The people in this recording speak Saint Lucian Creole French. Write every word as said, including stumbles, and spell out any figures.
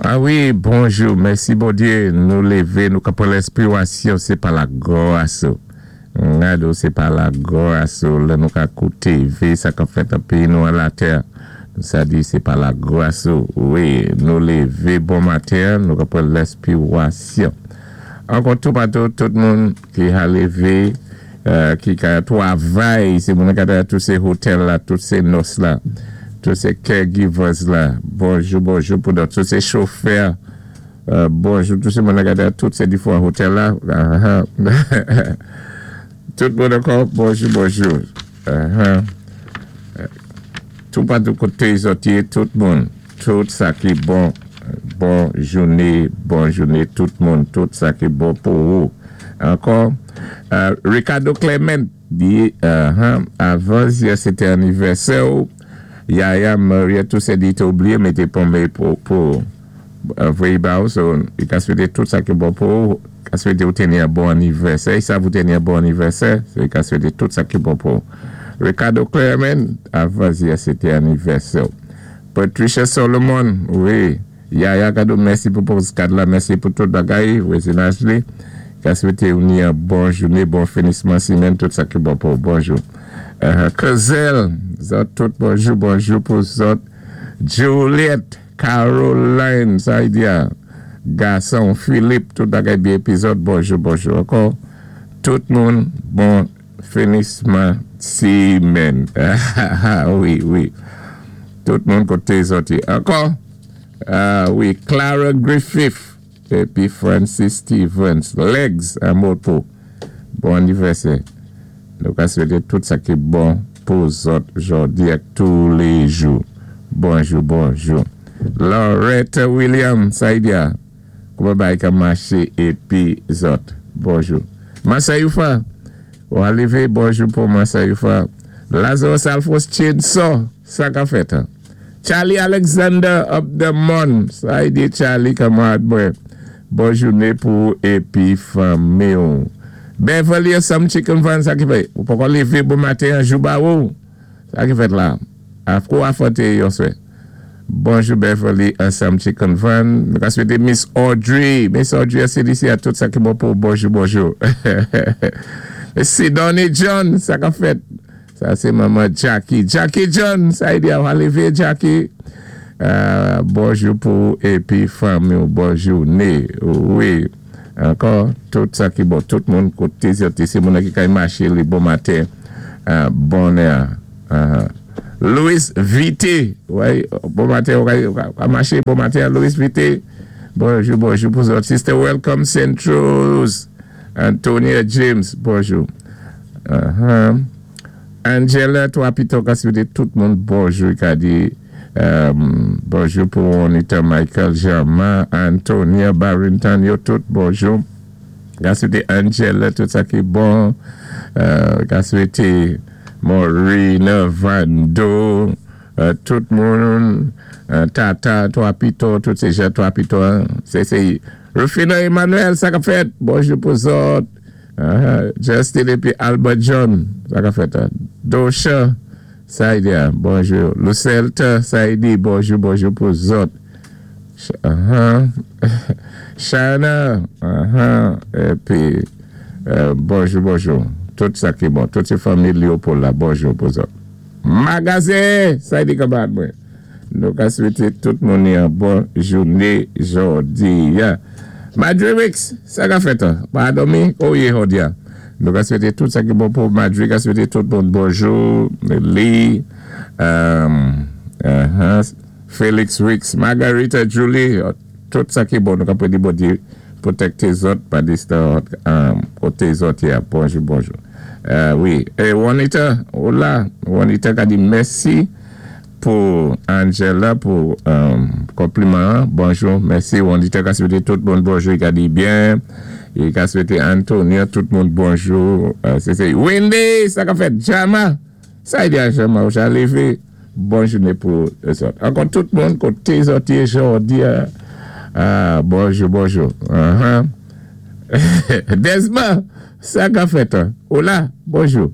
Ah wi, bonjou, mèsi Bondyé, nou lévé, nou ka pran lèspirasyon, sé pa lagwas. Gado, sé pa lagwas, la nou ka kouté, vé sa k ap fèt an péyi nou an latè. Sa di sé pa lagwas. Wi, nou lévé bon maten, nou ka pran lèspirasyon. Ankò tou patou, tout moun ki a lévé, euh, ki ka twavay, sé moun ka tout sé hotel la, tout sé nurse la, tout sé caregivers la. Bonjou, bonjou pou nou, tout sé chofè. Euh, bonjou, tout sé moun ka tout sé difwan hotel la. Ah, ah. Tout moun ankò, bonjou, bonjou. Uh-huh. Tou patou koté zòt yé, tout moun, tout sa ki bon, bon jouné, bon jouné, tout moun, tout sa ki bon pou ou. Ankò, euh, Ricardo Clement di, uh-huh, avan yè sété anivèsè ou, Yaya Maria tout sé di té oubliyé mété ponmé pou pou euh, voyé ba ou, so, i ka swété tout sa ki bon pou ou, ka swété ou téni yon bon anivèsè, sa vou téni yon bon anivèsè, so i ka swété tout sa ki bon pou ou. Ricardo Clement, avan yè sété anivèsè. Patricia Solomon, wi, Yaya Kado, mèsi pou postcard la, mèsi pou tout bagay, vwazinaj li. Ka swété ou ni yon bon jouné, bon finisman simenn, tout sa ki bon pou ou. Bonjou. Uh, Kazel, zòt tout bonjou, bonjou pou zòt. Juliette, Caroline, sa y di a, gason, Philippe, tout bagay byen épizòd, bonjou, bonjou. Ankò, tout moun, bon finisman simenn. Wi, wi. Tout moun koté zòt yé. Ankò, ah, wi, Clara Griffith, épi Francis Stevens, Legs, an moto. Bon anivèsè. Nou ka swété tout sa ki bon pou zòt jòdi ak tou lé jou. Bonjou, bonjou. Loretta Williams, sa y di a. Kouman bagay ka maché épi zòt. Bonjou. Massa Yufa. Ou arivé, bonjou pou Massa Yufa. Lazarus Alphonse Chainsaw, sa k ap fèt. Hein? Charlie Alexander up the mon. Sa y di Charlie kanmarad mwen. Bon jouné pou épi fanmi. Beverly some chicken van sa ki fè. Ou pa lévé bon maten jou ba ou. Sa ki fèt la. Afko afote yon swè. Bonjou Beverly some chicken van. Nou ka swété Miss Audrey. Miss Audrey a C D C a tout sa ki bon pou bonjou bonjou. Sidonie John, sa k ap fèt. Sa sé manman Jackie. Jackie John, sa y di a lévé Jackie. Euh, bonjou pou épi fanmi, bonjou né. Wi. Ankò, tout sa ki bon, tout moun koté sé moun ki ka maché li bon maten, euh, bonè. Uh, Louis Vité, wi, bon maten, ou ka maché bon maten, Louis Vité. Bonjou, bonjou pou zòt. Sister Welcome Centros, Antonia James, bonjou. Uh-huh. Angela, toi, pito, ka swété tout moun bonjou, ka di um, bonjou pou Anita Michael Germain, Antonia Barrington, yo tout bonjou. Ka swété Angela, tout sa ki bon. Euh, ka swété Maureen Vando, euh, tout moun, euh, Tata, toi, pito, tout sé jan, toi, pito, hein. Sé, sé, Rufino Emmanuel, sa k ap fèt. Bonjou pou zòt. Uh-huh. Justin épi Albert John, sa k ap fèt. Hein. Dosha, sa y di, bonjou. Lucelta, sa y di, bonjou, bonjou pou zòt. Uh-huh. Shana, uh-huh. Épi, euh, bonjou, bonjou. Tout sa ki bon. Tout sé fanmi Léopold la, bonjou pou zòt. Magazen, sa y di kanmarad mwen. Nou ka swété tout moun yon bon jouné jòdi. Ya. Madre Wicks, sa k ap fèt? Pa dòmi? Oh yeah, oh yeah. Nou ka swété tout sa ki bon pou Madre, ka swété tout moun bonjou. Lee, um, uh-huh, Felix Wicks, Margarita Julie, tout sa ki bon. Nou ka di Bondyé pwotékté zòt pa distan um, koté zòt ya. Bonjou, bonjou. Euh, wi. É Juanita, hola. Juanita ka di mèsi pou Angela pou um, konpliman. Bonjou, mèsi. Juanita ka swété tout moun bonjou. I ka di byen. I ka swété Antonio tout moun bonjou. Euh, sé sé Wendy, sa k ap fèt. Jama. Sa y di a Jama, ou ja lévé. Bon jouné pou zòt. Ankò tout moun koté zòt yé jòdi. Ah, bonjou, bonjou. Uh-huh. Desma, sa k ap fèt. Hola, bonjou.